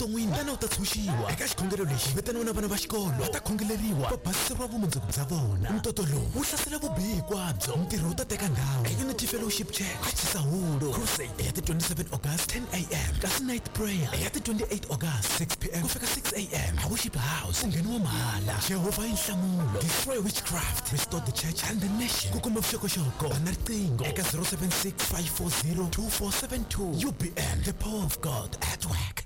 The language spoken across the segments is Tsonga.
Evuton'wini tana u ta tshunxiwa. Eka xikhongelo lexi vitaniwa na vana va xikolo va ta khongeleriwa va basiseriwa vumundzuku bya vona. Ntoto lowu wu hlasela vubihi hinkwabyo. Ntirho wu ta teka ndhawu eUnity Fellowship Church aChisahulu. Crusade ya ti 27 August 10 am kasi night prayer ya ti 28 August 6 pm ku fika 6 am a Worship House. Ku ngheniwa mahala. Jehovha i nhlamulo. Destroy witchcraft, restore the church and the nation. Ku kuma vuxokoxoko bana riqingho eka 076 540 2472. UBN, the power of God at work.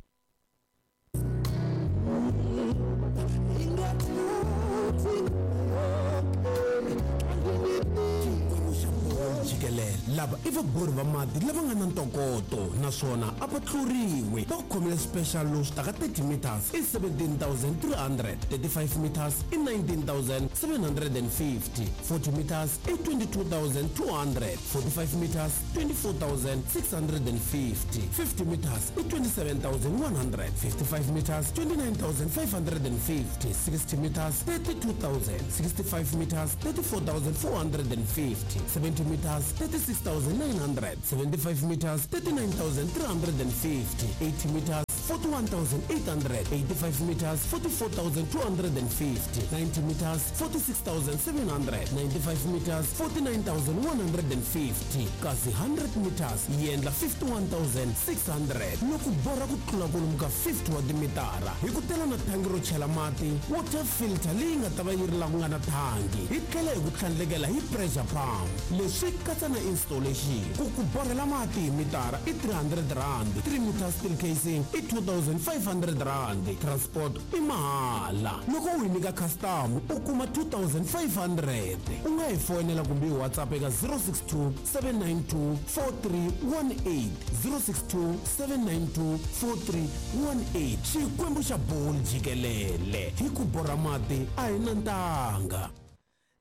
Jikelele lava i vabori va mati lava nga na ntokoto naswona a va tluriwi. Va ku khomile special lowu swi taka 30 meters i 17,300, 35 meters i 19,750, 40 meters i 22,200, 45 meters 24,650, 50 meters i 27,100, 55 meters 29,550, 60 meters 32,000, 65 meters 34,450, 70 meters 36,900, 75 meters 39,350, 80 meters 41,800, 85 meters 44,250, 90 meters 46,700, 95 meters 49,150, kasi 100 meters yi endla 51,600. Loko borha ku tlula kwalomu ka 50 wa timitara hi ku tela na thangi ro chela mati, water filter leyi nga ta va yi ri la ku nga na thangi, hi tlhela hi ku tlhandlekela hi pressure pump. Leswi katsa na installation. Ku ku borhela mati hi mitara i 300 rand, 3 meter steel casing i 2500 rand, transport i mahala. Loko u hi nyika custom u kuma 2500. U nga hi foyinela kumbe hi WhatsApp eka 062 792 4318, 062 792 4318. Xikwembu xa boli jikelele, hi ku borha mati a hi na ntanga.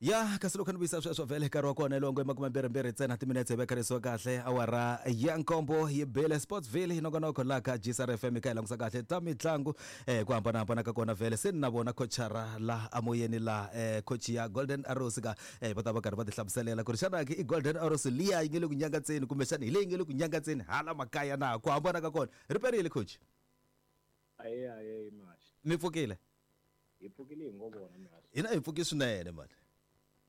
Ya kasi loko ni vuyisa sweswo vhele nkarhi wa kona longo i 22 ntsena timinetse hi vekarisiwa kahle awara ya 7 yi bile. Sportsville hi nongonoko laha ka GCR FM ka hi langusa kahle ta mitlangu ku hambanahambana ka kona. Vhele se ni na vona coachara la amoyeni la coach ya Golden Arrows ka va ta va karhi va ti hlamuselela ku ri xana ke i Golden Arrows liya yi nge le ku nyangatseni kumbexana hi leyi nge le ku nyangatseni hala makaya na ku hambana ka kona ri perile coach. Aye aye mashi. Mi pfukile? Hi pfukile hi ngo vona mashi. Hina hi pfuki swinene mani.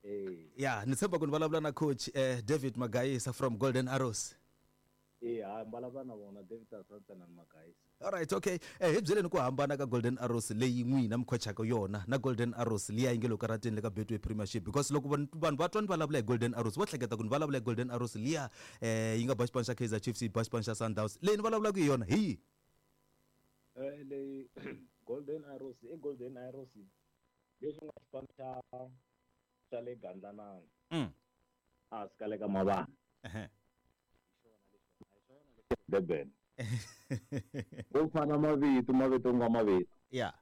Eh. Ya ni tshemba ku ni vulavula na coach David Magayisa from Golden Arrows. Eh ha vulavula na vona David Asantana Magayisa. All right, okay. Hi byeleni ku hambana ka Golden Arrows leyi n'wina mi khochaka yona na Golden Arrows liya yi nge le ku karateni le ka Betway Premiership, because loko vanhu va twa ni vulavula hi Golden Arrows va hleketa ku ni vulavula hi Golden Arrows liya yi nga ba xipano xa Kaizer Chiefs yi ba xipano xa Sundowns. Leyi ni vulavulaka hi yona hi yi? Leyi Golden Arrows i Golden Arrows leswi nga xipano xa le Gandlanani. A swi ka le ka Mavana. Durban. Ku fana mavito, mavito nga mavito. Ya.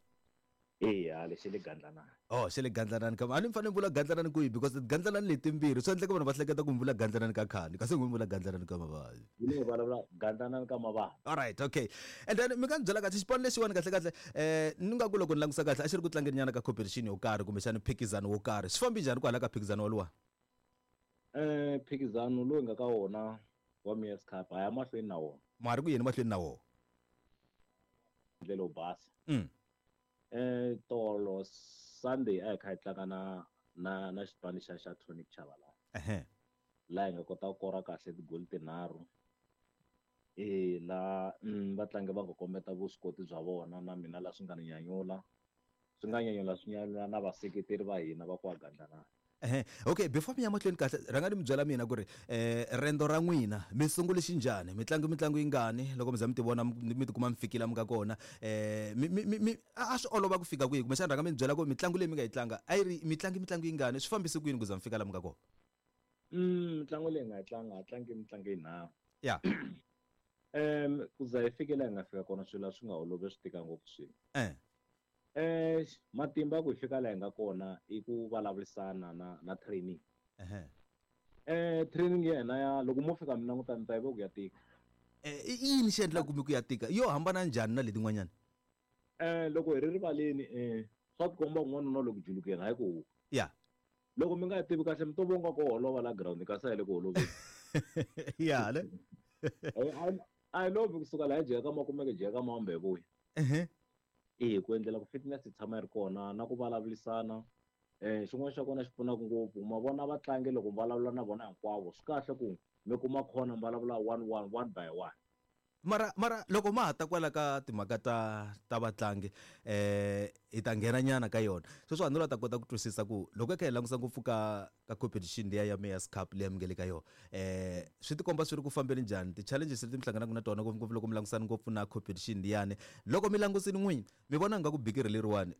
Eya, lexi le Gandlanani. Oh, xi le Gandlanani ka. A ni fanele ni vula Gandlanani kwihi, because Gandlanani letimbirhi swi endleka vanhu va hleketa ku mi vula Gandlanani ka khani, kasi n'wi vula Gandlanani ka Mavana. Hi le vulavula Gandlanani ka Mavana. All right, okay. And then mi nga ni byela kahle xipano lexiwani kahle kahle ni nga ku loko ni langusa kahle a xi ri ku tlangeni nyana ka competition yo karhi kumbexana phikizano wo karhi. Swi fambi njhani kwala ka phikizano woluwa? Phikizano lowu hi nga ka wona wa Mayor's Cup ha ya mahlweni na wona. Ma ri ku yeni mahlweni na wona? Ndlela yo basa. Tolo Sunday a hi kha hi tlanga na xipano xa Tonic Chabalala. Laha hi nga kota ku kora kahle tigoli tinharhu. La vatlangi va nga kombeta vuswikoti bya vona na mina la swi nga ni nyanyula. Swi nga nyanyula swi nyanyula na vaseketeri va hina va kwa Gandlanani. Okay, before mi ya mahlweni kahle rhanga ni mi byela mina ku ri rendo ra n'wina mi sungule xinjhani, mi tlangi mitlangu yingani loko mi za mi ti vona mi tikuma mi fikile mi nga kona, mi a swi olova ku fika kwihi, kumbexana rhanga mi ni byela ku mitlangu leyi mi nga yi tlanga a yi ri mitlangi mitlangu yingani, swi fambise ku yini ku za mi fika la mi nga kona? Mitlangu leyi nga yi tlanga a tlangi mitlangu yinharhu. Ya. Ku za hi fike laha hi nga fika kona swilo a swi nga olovi, swi tika ngopfu swilo. Matimba ku hi fika laha hi nga kona i ku vulavurisana na training. Training ya hina ya loko mo fika mi languta mi ta yi vo ku ya tika. I yini xi endlaka ku mi ku ya tika? Yo hambana njhani na letin'wanyana? Loko hi ri rivaleni, swa tikomba kun'wana na loko julukeni hayi ku huka. Ya. Loko mi nga tivi kahle mi to vonga ku holova la ground kasi a hi le ku holoveni. Ya le. A hi lovi kusuka laha hi jeka makumeke jeka mambe hi vuya. E ku endlela ku fitness yi tshama yi ri kona na ku vulavurisana. Xin'wana xa kona xi pfunaka ngopfu ma vona vatlangi loko mi vulavula na vona hinkwavo swi kahle ku mi kuma khona mi vulavula one one one by one. Mara loko ma ha ta kwala ka timhaka ta vatlangi hi ta nghena nyana ka yona. Sweswi a ni la ta kota ku twisisa ku loko hi kha hi langusa ngopfu ka competition liya ya Mayor's Cup liya mi nge le ka yona, swi tikomba swi ri ku fambeni njhani? Ti-challenges leti mi hlanganaka na tona ngopfungopfu loko mi langusana ngopfu na competition liyani. Loko mi langusini n'wini mi vona nga ku bikiri leriwani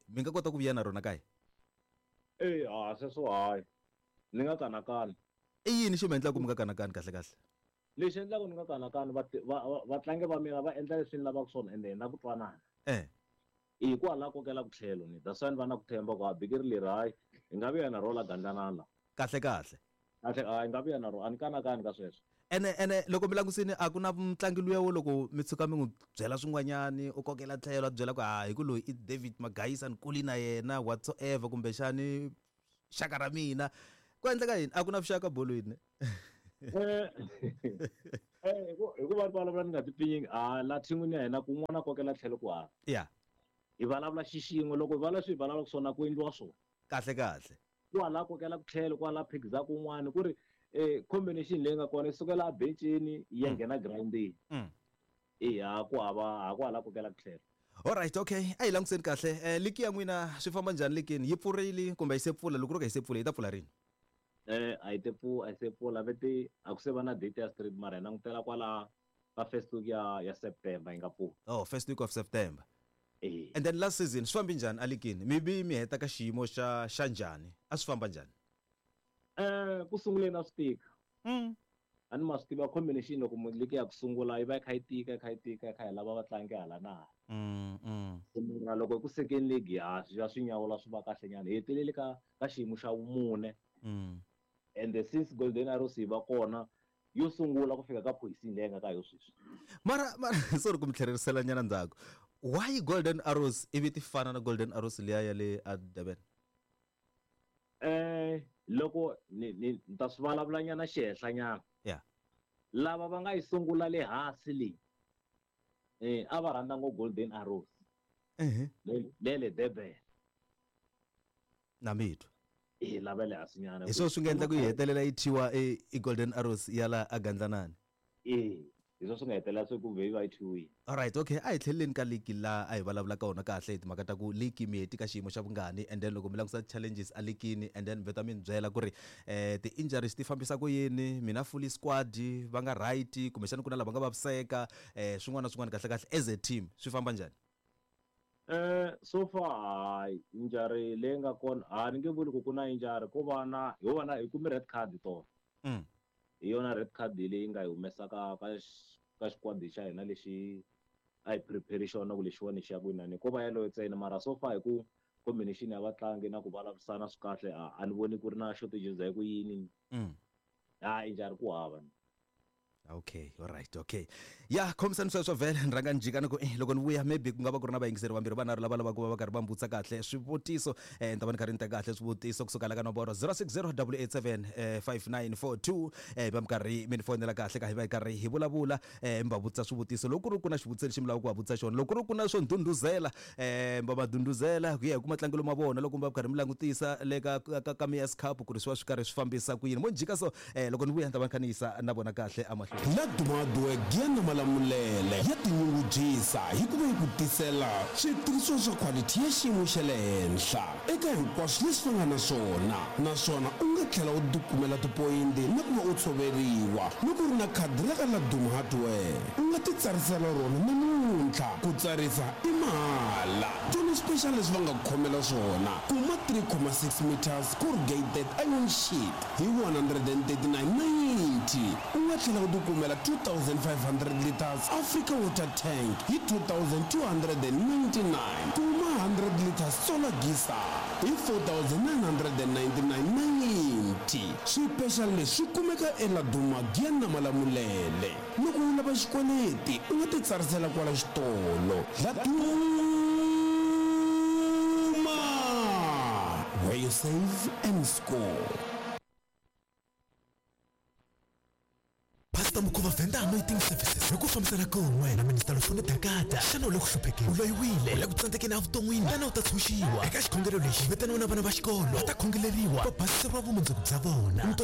mi nga kota ku vuya na rona kaya? E ha sweswo hayi ni nga kanakani. I yini xi mi endlaka ku mi nga kanakani kahle kahle? Lexi endlaka ni nga kanakani vatlangi va mina va endla leswi ni lavaka swona ende hi na ku twanana. Hikwalaho kokela ku tlhelo ni that's why ni va na ku tshemba ku a bikiri leri hayi hi nga vuya na ro la gandlanana la. Kahle kahle. Kahle a hi nga vuya na ro a ni kanakani ka sweswo. Ene loko mi langusini a ku na mutlangi luya wo loko mi tshuka mi n'wi byela swin'wanyani u kokela tlhelo a byela ku ha hi ku loyi i David Magayisa ni kuli na yena whatsoever kumbexani xaka ra mina. Ku endleka yini? A ku na vuxaka bolweni. Hi ku va vulavula ni nga ti pfinyingi a la thin'wini ya hina kun'wana kokela tlhelo ku hava. Hi vulavula xixin'we loko hi vulavula swi hi vulavulaka swona ku endliwa swona. Kahle kahle. Kwala kokela ku tlhelo kwala phikizaka kun'wana ku ri combination leyi nga kona yi sukela a bencini yi ya nghena groundini. Eya ku hava ha kwala kokela ku tlhelo. Alright, okay. A hi languseni kahle. Ligi ya n'wina swi famba njhani ligini? Yi pfurile kumbe yi se pfula? Loko ro ka yi se pfula yi ta pfula rini? A yi te a yi se pfula vete a ku se va na date ya straight mara hi langutela kwala ka first week ya September yi nga pfula. Oh, first week of September. And then last season swi fambi njhani a ligini? Mi vi mi heta ka xiyimo xa njhani? A swi famba njhani? Ku sunguleni a swi tika. A ni ma swi tiva combination loko ligi ya ku sungula yi va yi kha yi tika yi kha yi tika yi kha yi lava vatlangi hala na hala. Mara loko ku second league ha swi ya swi nyawula swi va kahle nyana. Hi hetelele ka xiyimo xa vumune. And since Golden Arrows yi va kona yo sungula ku fika ka position leyi nga ka yo sweswi. Mara sorry ku mi tlhelerisela nyana ndzhaku. Why Golden Arrows ivi ti fana na Golden Arrows liya ya le a Durban? Loko ni ta swi vulavula nyana xihenhla nyana. Lava va nga yi sungula le hansi leyi a va rhandza ngo Golden Arrows. Le Durban. Na mitwa. Lava le hansi nyana. Hi swona swi nga endla ku yi hetelela yi thyiwa i Golden Arrows ya la a Gandlanani. Hi swona swi nga hetelela swi ku ve yi va yi thyiwile. Alright, okay. A hi tlheleleni ka ligi la a hi vulavula ka wona kahle hi timhaka ta ku ligi mi heti ka xiyimo xa vungani and then loko mi langusa challenges a ligini and then veta mi ni byela ku ri ti-injuries ti fambisa ku yini, mina fully squad va nga right kumbexana ku na lava nga vaviseka swin'wana na swin'wana kahle kahle as a team swi famba njhani? So far hayi injury leyi nga kona a ni nge vuli ku ku na injury ko va na ho va na hi kume red card tona. Hi yona red card leyi nga hi humesa ka xikwadi xa hina lexi a hi prepare xona ku lexiwani xi ya ku winani ko va yeleyo ntsena mara so far hi ku combination ya vatlangi na ku vulavurisana swi kahle a ni voni ku ri na shortages ya ku yini. Ha injury ku hava. Okay, all right, okay. Ya khomisani sweswo vhele ni rhanga ni jika ni ku loko ni vuya maybe ku nga va ku ri na vayingiseri vambirhi vanharhu lava lavaka ku va va karhi va mbutsa kahle swivutiso ni ta va ni karhi ni teka kahle swivutiso kusuka la ka nomboro 060 887 5942 va mi karhi mi ni fonela kahle ka hi va hi karhi hi vulavula mi va vutisa swivutiso loko ku ri ku na xivutiso lexi mi lavaka ku va vutisa xona loko ku ri ku na swo ndhundhuzela va va ndhundhuzela ku ya hi ku matlangelo ma vona loko mi va karhi mi langutisa le ka Mayor's Cup ku ri swi va swi karhi swi fambisa ku yini mo ni jika so loko ni vuya ni ta va ni kha ni yisa na vona kahle emahlweni. La Dumadwe Giyani Malamulele ya tinyungubyisa hi ku va yi ku tisela switirhisiwa swa khwalithi ya xiyimo xa le henhla eka hinkwaswo leswi va nga na swona naswona u nga tlhela u tikumela tipoyinti na ku va u tshoveriwa loko u ri na khadi ra ka La Duma Hardware. U nga titsarisela rona namuntlha. Ku tsarisa i mahala. Twana special leswi va nga ku khomela swona. Kuma 3.6 meters corrugated iron sheet hi 139.90. U nga tlhela u tikumela 2500 liters Africa water tank hi 2299. Kuma 100 liters solar geyser hi 4999.90. Swipexali leswi swi kumeka eLaduma Giyani na Malamulele. Loko u lava xikweleti u nga titsarisela kwala xitolo. Laduma, where you save and score. Pastor Mukhuva Venda Anointing Services hi ku fambisa fambisana kun'we na minista Lufuno Dakata. Xana u le ku hluphekeni, u loyiwile, u le ku tsandzekeni evuton'wini, tana u ta tshunxiwa. Eka xikhongelo lexi vitaniwa na vana va xikolo va ta khongeleriwa va basiseriwa vumundzuku bya vona.